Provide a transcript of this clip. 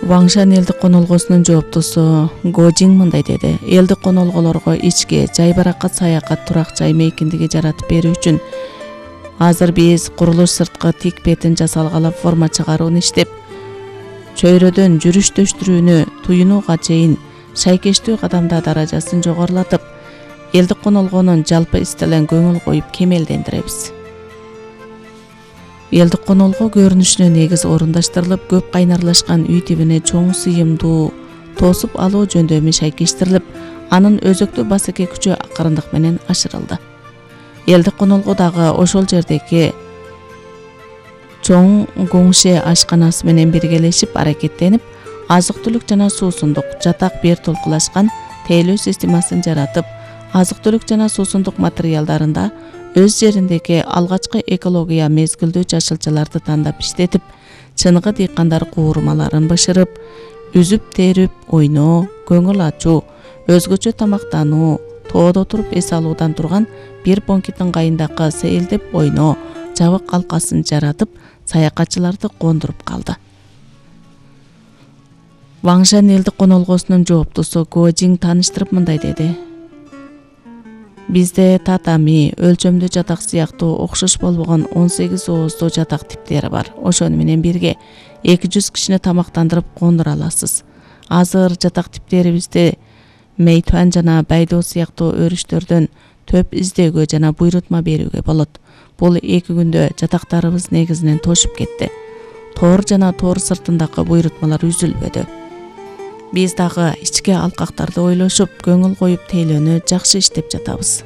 Ваңшан элдик конолгосунун жооптусу Го Жин мындай деди: элдик конолголорго ички, жайбаракат саякат турак жай мейкиндиги жаратып берүү үчүн азыр биз курулуш сырткы тик бетин жасалгала форма чыгаруун иштеп, чөйрөдөн жүрүш-төштүрүүнү туюнууга чейин шайкештүү кадамда даражасын жогорулатып, элдик конолгонун жалпы истелен көңүл коюп кемелдендиребиз. Элдик конолго көрүнүшүнө негиз орундаштырылып, көп кайнарлашкан үй тибине чоң сыйымдуу тосуп алуу жөндөмү шайкештирилип, анын өзөктүү басеке күчү акырындык менен ашырылды. Элдик конолго дагы ошол жердеги чоң Гоңше ашканасы менен биргелешип аракеттенип, азык-түлүк жана суусундук жатак бир толкулашкан тейлөө системасын жаратып, азык-түлүк жана суусундук материалдарында өз жериндеги алгачкы экология мезгилдүү жашылчаларды тандап иштетип, чыныгы дыйкандар куурмаларын бышырып, үзүп терип ойноо, көңүл ачуу, өзгөчө тамактануу, тоодо туруп эс алуудан турган бир бонкит ыңгайындагы сейилдеп ойноо жабык калкасын жаратып, саякатчыларды кондуруп калды. Ваңшан элдик конолгосунун жооптусу Го Жин тааныштырып мындай деди: бизде татами, өлчөмдүү жатак сыяктуу окшош болбогон 18 ооздуу жатак типтери бар. Ошону менен бирге 200 кишини тамактандырып кондура аласыз. Азыр жатак типтерибизди Мейтуан жана Байдо сыяктуу өрүштөрдөн төп издөөгө жана буйрутма берүүгө болот. Бул 2 күндө жатактарыбыз негизинен тошуп кетти. Тоор жана тоор сыртындагы буйрутмалар үзүлбөдү. Биз дагы ички алкактарды ойлошуп, көңүл коюп тейлөөнү жакшы иштеп жатабыз.